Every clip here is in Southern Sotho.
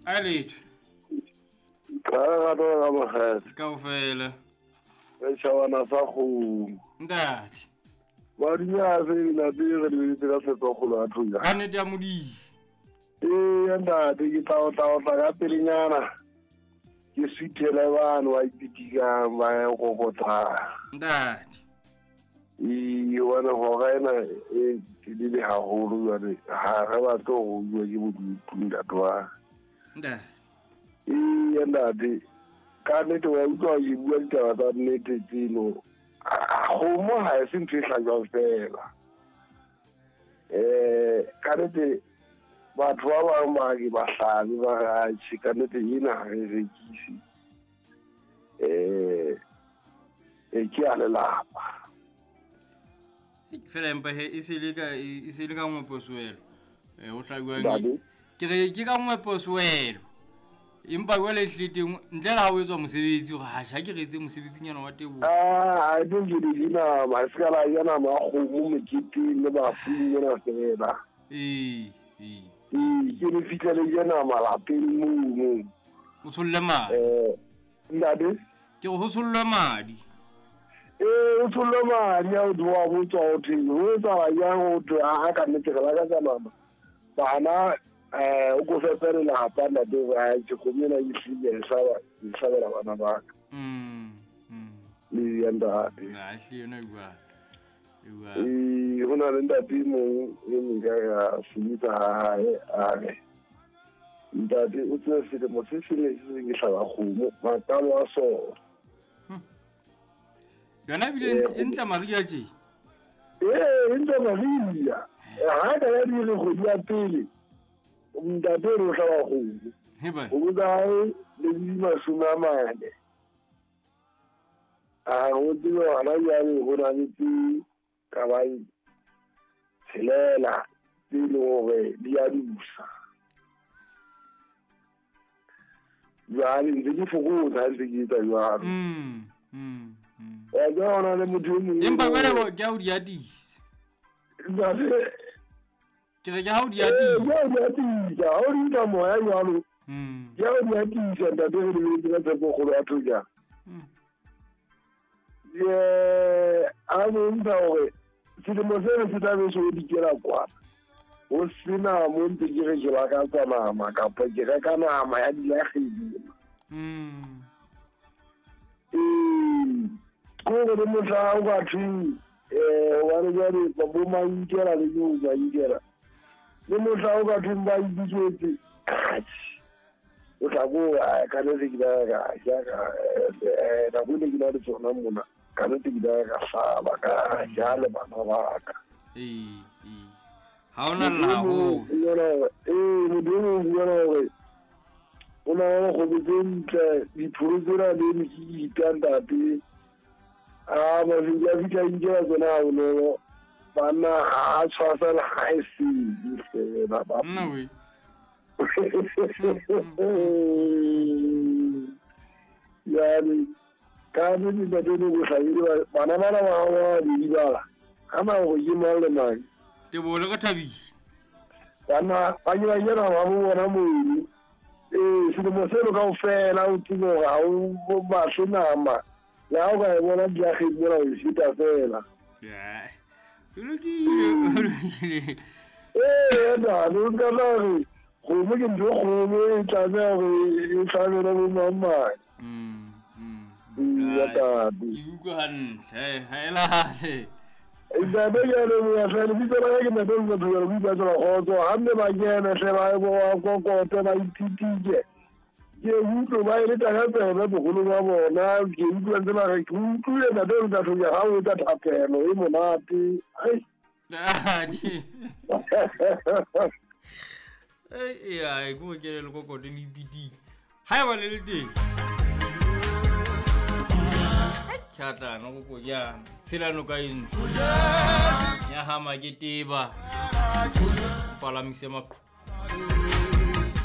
A letho. Ka lerato la ka mokgele. Kaofela. Re tjhabana sa kgomo. Ntate. Madinyase ntate re lebeletse ka tshepo kgolo ya thoja. Ka nnete ya Modimo. Ee ntate ke tla otla ka pelenyana. Ke suthele bano ba ipitikang ba ya kokotlang. Ntate. Ee hobane hora ena e telele haholo jwale ha re batle ho utlwa ke bodutu ntate wa. Ntate. Ee ntate ka nnete wa utlwa ke bua ditaba tsa nnete tseno. Kgomo ha e se ntho e hlajwang fela. Ka nnete batho ba bang ba ke ba hlabe ba re atjhe ka nnete ena ha re rekise. Ke a lelapa. Fela empa he e se le ka nngwe poswelo. O hlabiwang. Ke re ke ka nngwe poswelo. Empa jwale ehlile teng ntle le ha o etswa mosebetsi hore ha ke re etse mosebetsinyana wa teboho. Ah, I don't get it nama, se ka la ja nama ya kgomo moketeng le bafung mona fela. Ee. Ee, ke le fitlha le ja nama lapeng mono. O tsholle madi. Ntate? Ke re ho tshollwe madi. Ee, o tshollwe madi a o wa botswa ho thweng, ho etsahala jang ho thwe a ka nnete re lakatsa nama. Bana o ko fepe lelapa ntate hore a ke kgomo ena e hlile e hlabela bana ba ka. Ee, ntate. Na ehlile yona e bua. Ee, ho na le ntate e mong e mong ka ya sebetsa ha hae a re ntate o tsebe selemo se seng le se seng ke hlaba kgomo maqalo a sona. Yona ebile e ntla maria tje. Ee, e ntla maria. Ha ka ya dire kgwedi ya pele ntate o re o hlaba kgomo. O botsa hae le di 40. A go tsebe gona jwale ho na le tse ka bang tshelela tse e leng hore di a dusa. Jwale ntse ke fokotsa ha ntse ke etsa jwalo. Wa tseba ho na le motho e mong. Empa jwale ke ha o di atisa. Ntate. Ke re ke ha o di atisa. Ee, ke ha o di atisa. Ha o di nka moya jwalo. Ke ha o di atisa ntate re lebeletse ka tshepo kgolo ya thoja. A bontsha hore selemo seno se tla be se o dikela kwana. Ho sena mo ntse ke re ke lakatsa nama kapa ke reka nama ya dilakgedi. Ee, ko re mohla o ka thweng hobane jwale bo mankela le bo mankela. Le mohla o ka thweng ba ipitsetse. O tla go ka nnete ke la ka ja ka nako ene ke na le tsona mona ka nnete ke la ka hlaba ka ja le bana ba ka. Ee. Ha ona lla ho. Ee, modimo o bua hore o na le kgomo tse ntle dipholo tsena le mekita ntate. A mafika a fihla nkela tsona ha bonolo. Banna ha tshwasa le ha e se fela ba. Nna we. Yani ka nnete ntate ne go hlabile bana bana ba ba di bala. Ha ma go ke mang le mang. Teboho le ka thabile. Bana ba ke ba yena ba bo bona moedi. Ee, selemo seno kaofela o tsebe hore ha o batle nama. Le ha o ka e bona diakgeng mona o e feta fela. O lokile. Ee, ntate o ska tla re kgomo ke ntho e kgolo e tlameha hore e hlabelwe bo mang mang. Ntate. Ke utlwa hantle, ha e lale. Ntate ke a leboha hle, lebitso la ka ke Ntate Motho ke re bua tsela kgotso. Ha mme ba kene hle ba kokote ba ithutile. Ke utlwe ba e leta ka tsebe boholo ba bona, ke utlwa ntse ba re ke utlwile Ntate Motho ha o etsa thapelo e monate. Ai. Ntate. Ee, ke o kene le kokote le ipitile. Ha eba le le teng. Tjhatlana go kojana. Tshela noka e ntsho. Ya hama ke teba. Palamise maqhu.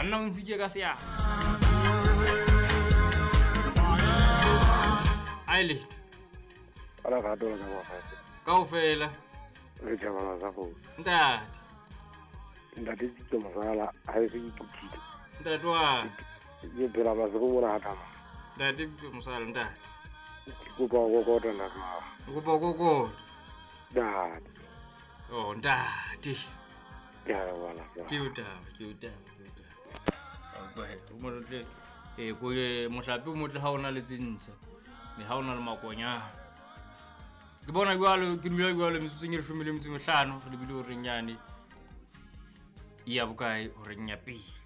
Anna o ntshike ka seatla. Aile. Ala rato la ka ba. Kaofela. Re tjhabana sa go. Ntate. Ntate Tito Masala ha e se ke kutlile. Ntate wa Ke phela maseko mona ha tama. Ntate mosala ntate. Ke kopa ho kokota ntate wa. O kopa ho kokota. Ntate. Oh ntate. Ke a leboha ntate wa. Ke o taba, ke o taba, ke o taba. A utlwa he, o motle eh ko mohlape o motle ha ona le tse ntjha. Me ha ona le makonyana. Ke bona jwalo ke dula jwalo metsotsong e 15 re lebile horeng yane. Ya bokae horeng ya pele.